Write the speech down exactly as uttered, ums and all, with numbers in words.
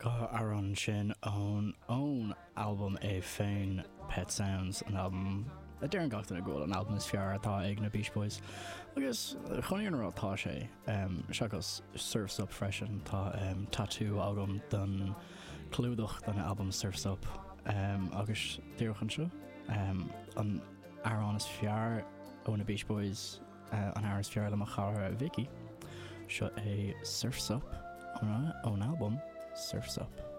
Dhá amhrán sin ón ón albam é féin Pet Sounds an albam a deireann gach duine go bhfuil an albam is fearr atá ag na Beach Boys. Agus chun an rá tá sé um, seachas Surf's Up freisin tá um, tatú agam den clúdach den albam Surf's Up um, agus díreach anseo um, an amhrán is fearr ó na Beach Boys uh, an amhrán is fearr le mo chara Vicky seo é Surf's Up ón albam Surf's Up.